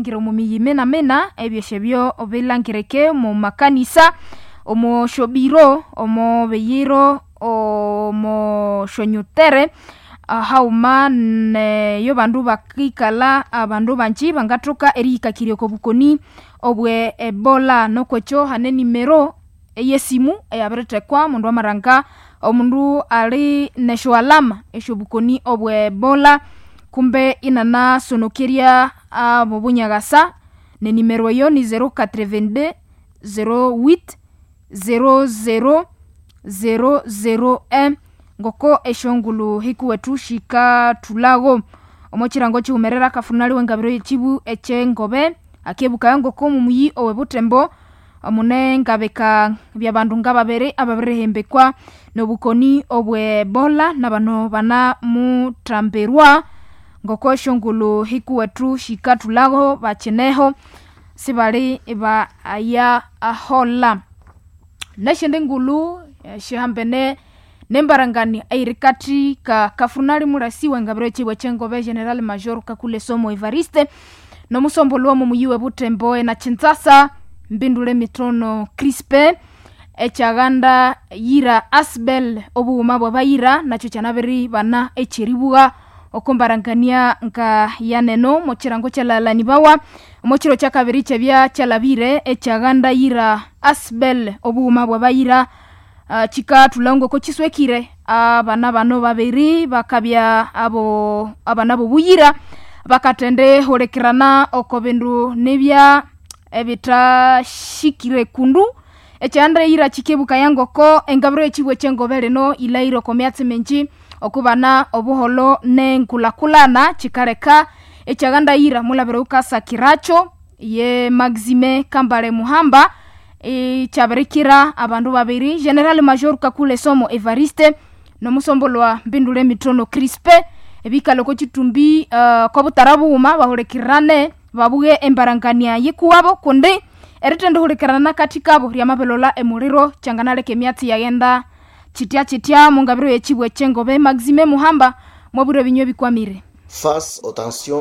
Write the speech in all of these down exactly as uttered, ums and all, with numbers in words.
Ngira omu miyi mina-mina ebyosyo bilangirike omu makanisa, omo syobiro, omo biyiro, omo syonyutere haghuma neyo bandu bakikalha abandu bangi bangathoka eriyikakirya oko bukoni obwe ebola. Nukwekyo hane enimero eyesimu eyabirithekwa omundu amalhanga omundu ali nesyo alama esyobukoni obwe ebola kumbe inanasonokerya abobunyakasa nenimero eyo ni zero quatre-vingt-deux zero huit zero zero zero zero un ngoko esyongulhu hikuwethu sikathulhago. Omo kirango kighumerera kafunali wengabiro yekibu ekyengobe akebukaya ngoko omumuyi owe Butembo mune ngabika byabandu ngababiri ababirihembekwa nobukoni obwe ebola nabano banamuthambirwa ngoko esyongulhu hikuwethu sikathulhago bakineho sibali baya aholha. Nesyindi ngulhu syihambene nembarangania eyirikathi ka kafunali mulasi wengabiro yekyibwa ekyengobe General Major Kakule Somo Evariste nomusombolho womo muyi we Butembo enakyinzasa mbindule mithono Crispin ekyaghanda yira Asbel obughuma bwabayira nakyo kyanabiribana ekyeribugha oko mbarangania nga yaneno mokirango kyalhalanibawa omokiro kyakabiri kyebya kyalhabire ekyaghanda yira Asbel obughuma bwabayira uh, kikathulha ngoko kiswekire abana bano babiri bakabya abo abana bobuyira bakathende hulikirana oko bindu nibya ebithashikire kundu ekyanda yira kikebukaya ngoko engabiro yekibwa ekyengobe lino yilhaire oko myatsi mingi okubana obuholho nenkulhakulhana kikaleka ekyaghanda yira mulhabira wukasakiracho ye Maxime Kambale Muhamba ikyabirikira abandu babiri General Major Kakule Somo Evariste nomusombolwa Mbindule Mithono Crispe ebikalha oko kitumbi uh, kobutara bughuma bahulikirane babughe embarangania yikuwabo kundi erithendihulikirana kathi kabo ryamabilolha emuliro kyanganaleka emyatsi yaghenda kitya kitya mungabiro yekibwa ekyengobe Maxime Muhamba mwabwire ebinywa ebikwamire.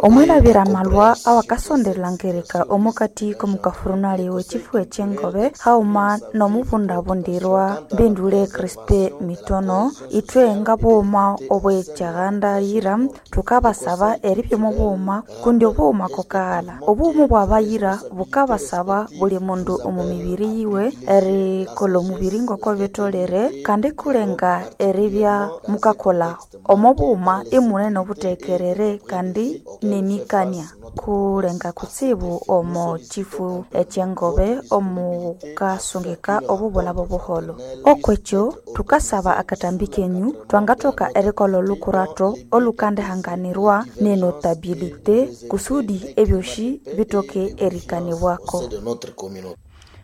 Omwilabira amalwa awakasondelangereka omukati komukafurunali w'ekifu ekyengobe haghuma n'omubundabundirwa mbindule Crispe Mitono ithwe ngabughuma obwekyaghanda yira thukabasaba eribya omubughuma kundi obughuma kokaghalha obughuma obwabayira bukabasaba buli mundu omu mibiri yiwe erikolha omubiri ngoko bitholere kandi kulenga eribya mukakolha omo bughuma imune nobuthekerere kandi nemikania kulenga kutsibu omo kifu ekyengobe omukasungika obubulha bobuholho okwekyo thukasaba akatambi kenyu thwangathoka erikolha olhukuratho olukandihanganirwa nenotabilite kusudi ebyosi bithoke erikanibwako.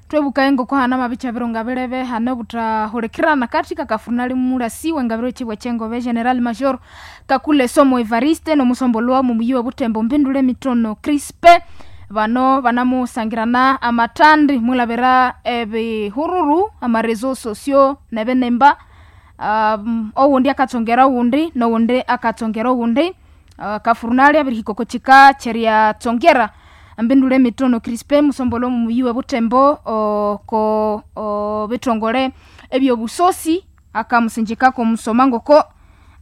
Twebukaye ngoko hana mabicha bironga bilebe hane obuthahulikirana kathi kakafunali mulasi wengabiro ekibwa ekyengobe General Major Kakule Somo Evariste nomusombolwa mumuyi we Butembo Mbindule Mitono Crispe bano banamusangirana amathandi mwilabira ebihururu amarezo sosio nebinemba um, owundi akatsongera owundi nowundi akatsongera owundi uh, kafurunali abirihika oko kika kyeryatsongera Mbindule Mitono Crispe musombolo mumuyi we Butembo oko bithongole ebyobusosi akamusinjikako omusoma ngoko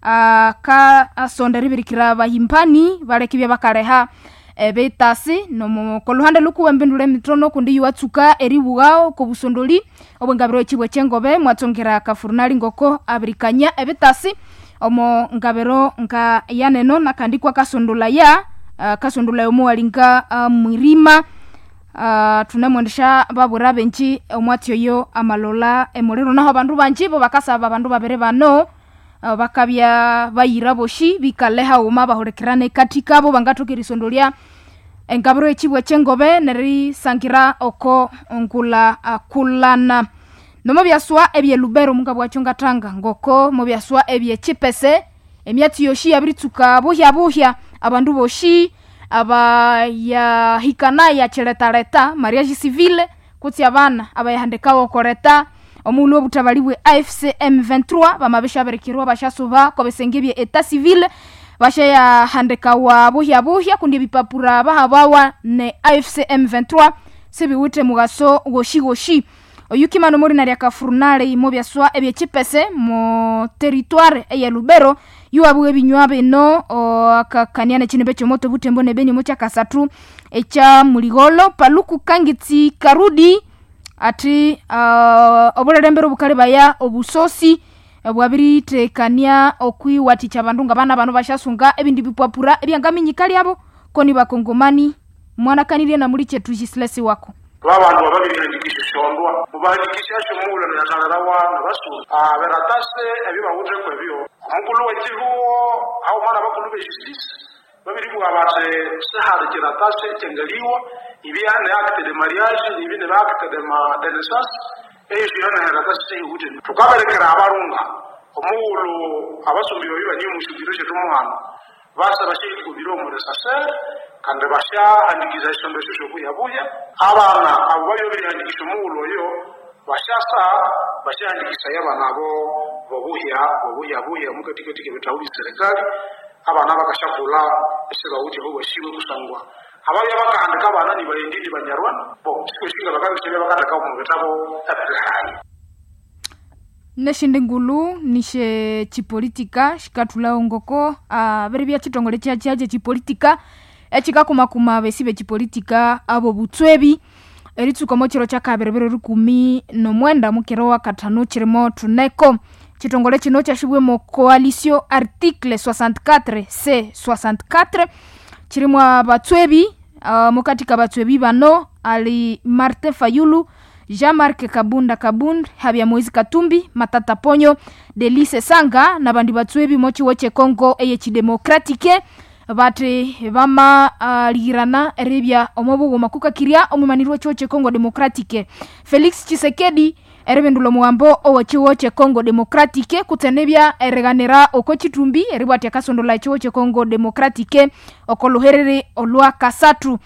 akasonda eribirikira abahimpani baleka ibya bakaleha ebitasi koluhande lukuwe Mbindule Mitono kundi iwatsuka eribugha okobusondoli obwengabiro ekibwa ekyengobe mwatsongera kafurunali ngoko abirikanya ebitasi omo ngabiro nga yaneno nakandi kwakasondolaya Uh, kasondolaya omuwalinga uh, mwirima uh, thunemwendesha babwira benji omwatsi oyo amalola emuliro naho abandu banji bo bakasaba abandu babiri bano uh, bakabya bayira boshi bikale haghuma bahulikirane kathi kabo bangathoka erisondolya engabiro ekibwa ekyengobe nerisangira oko ngulhakulhana. Nomo byaswa ebye Lubero mungabwakyo ngathanga ngoko mubyaswa ebye Kipese emyatsi yoshi yabiritsuka buhya buhya abandu boshi abayahikana yakiletaleta mariage civile kutsi abana abayahandikawo okoleta omughulhu obuthabali bwe A F C M twenty-three bamabishabirikirwa bashasuba kobisenge bye etat civil bashayahandikawa buhya buhya kundi ebipapura bahabawa ne A F C M vingt-trois sibiwithe mugaso goshi goshi. Oyukimano muri lya kafurunale imo byaswa ebyekipese mu territoire eya Lubero yuwabuwe ebinywa bino akakania nekinimbe kyomoto butembo nebeni mu kyakasathu ekya muligolo paluku kangitsi karudi ati uh, obulerembere obukali baya obusosi bwabiritekania okwiwathikya abandu nga bana bano bashasunga ebindi bipwapura ebyangaminyika lyabo koni bakongomani mwanakanirye na muli chetu jisilesi wako babandu ababirihandikisha shondwa mubahandikisha shomuula natalala wana basula beratase ebyo bawutheko ebyo omukulu wekihuo haumana bakulu bejustice babiribwa bati sihali kiratase kyangaliwa ibya ne acte de mariage ibi ne acte de ma de naissance eyo shiyona heratase sehiwuthe tukaberekera abarunga omuulu abasumbi babi bani omushugiro shetu muhano basa bashikubira omuresasere kandi bashahandikiza eshondo esho shobuyabuya abana abo babyo birihandikisha omughulu oyo bashasa bashahandikisa abana abo bobuhya bobuyabuya mukatikatiki ebitabu bya serikali abana bakashakula esibawuthi bobashiwe kusangwa ababya bakahandika abana nibayendi nibanyarwanda bo sikweshinga bakabisebya bakataka omu bitabo ebirihayi. Neshindi ngulu nishe chipolitika shikathulawo ngoko abiri bya chitongole kyakyaje chipolitika ekikakumakuma besi bechipolitika abo butswebi eritsuka omo kiro kyakabiri biro rukumi nomwenda mukiro wa kathanu kirimo thuneko. Chitongole kino kyashibwemo coalition article soixante-quatre C soixante-quatre kirimo abatswebi uh, mukatika batswebi bano ali Martin Fayulu, Jean-Marc Kabunda Kabund, Habya Moise Katumbi, Matata Ponyo, Delice Sanga nabandi batswebi mochiwo che Congo eye chidemokratike bati bama uh, ligirana eribya omobughuma kukakirya omumanirwa chiwo che Congo Democratique Felix Tshisekedi eribindula omuwambo owechiwo che Congo Democratique kutsenebya eriganira oko chitumbi eribwatya akasondola echiwo che Congo Democratique oko luherere olwa kasathu.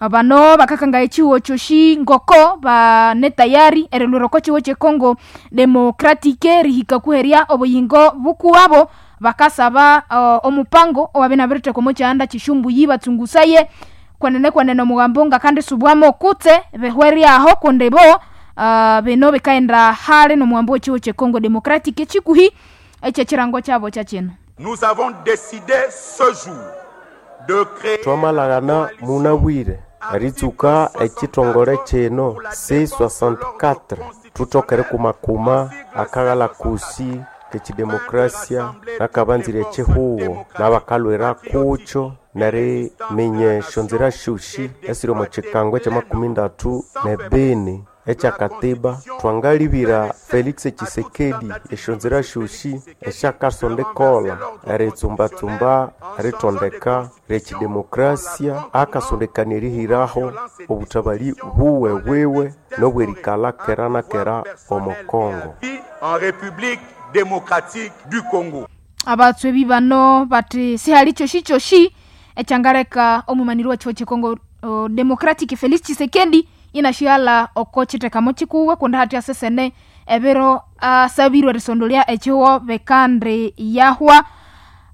Bano bakakanga echiwo kyoshi ngoko bane tayari erilwira oko chiwo che Congo Democratique rihika kuherya obuyingo bukuwabo bakasaba uh, omupango owabenabiriteka omo kyanda kishumbuyi batsungusaye kwenene kwenene omugambo nga kandi subwamo kutse behweryaho kundi bo uh, bino bikaenda hale nomugambo wechiwo che Congo Democratique chikuhi ekyekirango kyabo kyakino. Nous avons décidé ce jour de créer twamalagana munabwire eritsuka ekitongole kino C soixante-quatre thutokere kumakuma akaghala kusi kekidemokrasia nakabanzire ekihuwo n'abakalwera kukyo neriminya esyonzira syosi esiri omu kikango ekyamakumi ndatu nebini ekyakatiba twangalibira Felix Tshisekedi esyonzira syosi esyakasondekola eritsumbatsumba eritondeka lyekidemokrasia akasondekania erihiraho obutabali buwe bwiwe n'obwerikalha kera na kera omu Congo. En République démocratique du Congo. Abatswebi bano bati sihali kyoshi kyoshi ekyangaleka omumaniri wa chiwo che Congo uh, Democratic Felix Tshisekedi inashiala oko chitekamo chikuwe kundi hati asesene ebiro asabirwe erisondolya echiwo bekandi yahwa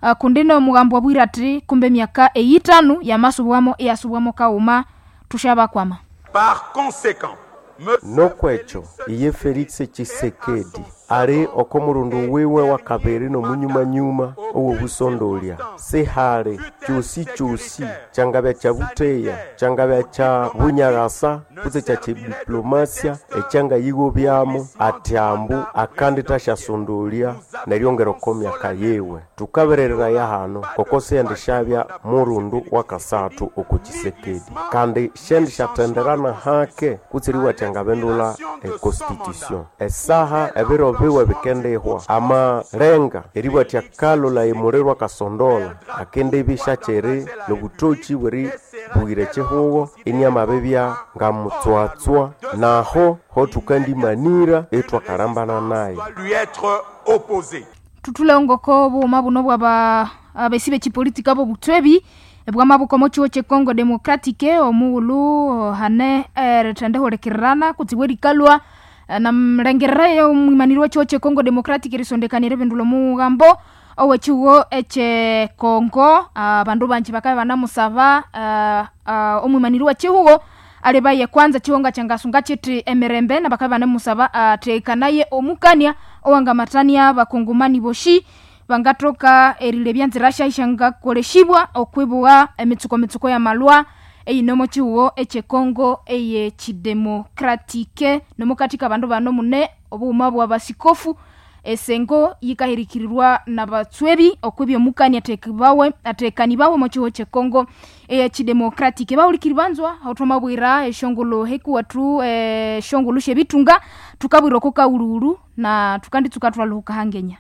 uh, kundi nomugambo wabwire ati kumbe emyaka eyitanu yamasubwamo iyasubwamo kauma tushabakwama. Par conséquent, nokwekyo iye Felix Tshisekedi ali oko murundu wiwe wa kabiri nomunyumanyuma owobusondolya sihali kyosi kyosi kyangabya kya buteya kyangabya kya bunyarasa kutse kya kidiplomasia ekyangayigobyamo ati ambu akandi tasyasondolya neryongera oko myaka yiwe. Tukaberereraya hano koko siyendishabya murundu wa kasathu oko Tshisekedi kandi shendishathenderana hake kutse riwatya ngabendula econstitution esaha ebiro biwe bikendihwa amalenga eribwatya kalula emuliro akasondola akendibisha kyeri nobutoki bweri bwire ekihugo iniamabibya ngamutswatswa naho ho tukandimanira etwakalambana naye. Lui être opposé. Tutule ngoko buuma buno bwaba abesi bekipolitika bobutswebi bwamabuko mochiwo che Congo Democratique omughulu hane erithendehulikirana kutsibu erikalwa namlengerera omwimaniri wa chiwo che Congo Democratic erisondekanire ebindu lomughambo owechiwo eche Kongo abandu banji bakabe banamusaba uh, uh, omwimaniri wechihugo alibaye kwanza chihonga changasunga chiti emirembe na bakabe banamusaba atekanaye omukania owangamatania bakongomani boshi bangatoka erilebya nzira shangakoleshibwa okwibugha emitsuko mitsuko ya malwa eyinomo chihugo eche Kongo eye chidemokratike nomukatika abandu bano mune obughuma bwa basikofu esengo yikahirikirirwa na batswebi okwibya omukani atekibawe atekanibawe omo chihugo che Kongo eye chidemokratike bahulikiri banzwa hauthomabwira eshongolo hekuwathu eshongolo shebitunga tukabwira oko kaululu na tukanditsuka thwaluhuka hangenya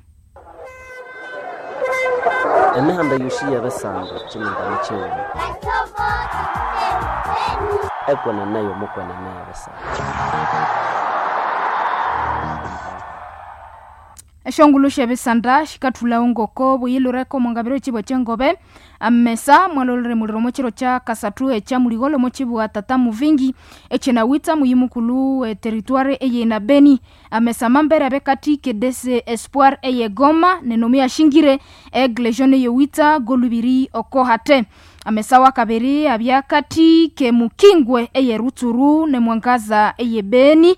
Emihanda yosi yebisando kyimingano kyighuma ekwenene yomukwenene yebisando. Eshongolo shebisanda shikathulawo ngoko buyilureko omongabiro chibwa chengobe amesa mwalolere muliro mochiro cha kasathu echa muligholo mochibwa tata muvingi echenawitsa muyi mukulu e territoire eye na Beni. Amesa mambere abekati kedese espoir eye Goma nenomi yashingire Aigle Jaune yewitsa golubiri okohate. Amesa wa kabiri abyakati ke mukingwe eye Rutsuru nemwangaza eye Beni.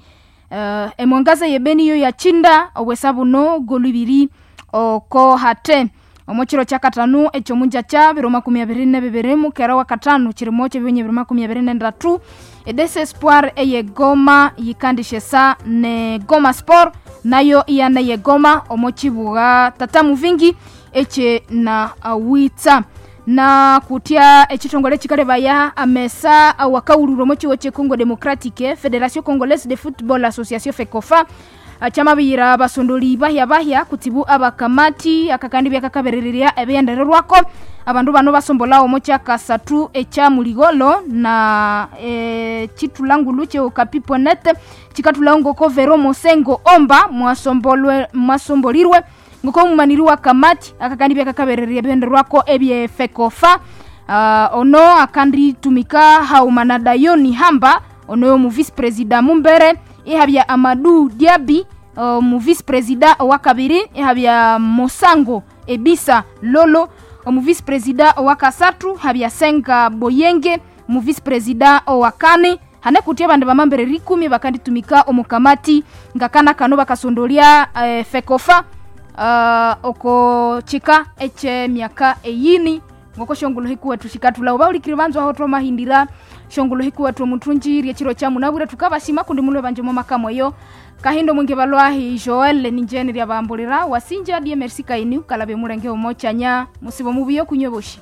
Uh, emwangaza yebeni yo yachinda obwesa buno golubiri oko hate. Omochiro cha katanu ekyomunja cha biro makumi abiri na bibiri mukera wa katanu chirimo kyebinye biro makumi abiri na ndatu Edese Espoir eye Goma yikandishesa ne Goma Sport nayo iyana ye Goma omochibuga tata muvingi eche na awitsa na kutia ekitongole kikalebaya amesa awakauluro mu kiwo Congo Democratique Federation Congolaise de Football Association FECOFA chamabiyira abasondoli bahya bahya kutibu abakamati akakandi byakakaberereria ebyendererwako abandu bano basombola omo kyakasathu ekya muligolo na e, chitulangulu che okapiponet chikatulawo ngoko Vero Mosengo Omba mwasombolwe mwasombolirwe ngoko mumaniri wa kamati akakandi byakakabereria ebyendererwako ebye FECOFA. Uh, ono akandi tumika haumana Dayoni Hamba ono mu vice president mumbere ihabya Amadou Diaby uh, mu vice president owakabiri ihabya Mosango Ebisa Lolo omu vice president owakasathu habya Senga Boyenge mu vice president owakane hane kutia abandu bamambere rikumi bakanditumika omukamati ngakana kano bakasondolia eh, FECOFA uh, oko chika eche miaka eyini ngoko shongolo hikuwethu shikatulawo baulikiri banzu aho twamahindira shongolo hikuwethu omuthunji ryechiro cha munabwire tukabasima kundi mulwe banje mwa eyo kahindo mwingi balwahi Joel ninjeni ryabambulira wasinja die merci kaini ukalabe mulenge omochanya musibo mubiyo kunywe boshi.